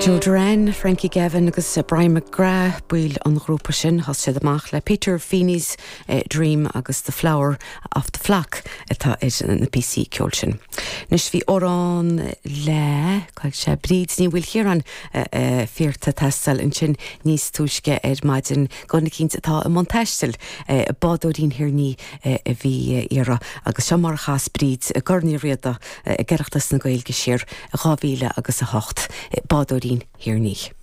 Joe Derrane, Frankie Gavin agus Brian McGrath baill an ghrúpa sin. Thosaigh siad amach le Peter Feeney's Dream agus The Flower of the Flock atá ar na píosaí ceoil sin. Anois bhí amhrán le, cá bhfuil sé, Bríd Ní Mhaoilchiaráin fiarta teastáil ansin níos túisce ar maidin do dhuine eicínt atá i mbun taistil, Bádóirín Thír an Fhia a bhí á iarraidh agus seo mar a chas Bríd i gCorn Uí Riada ag Oireachtas na Gaeilge siar i 2000 agus 8, Bádóirín Thír an Fhia.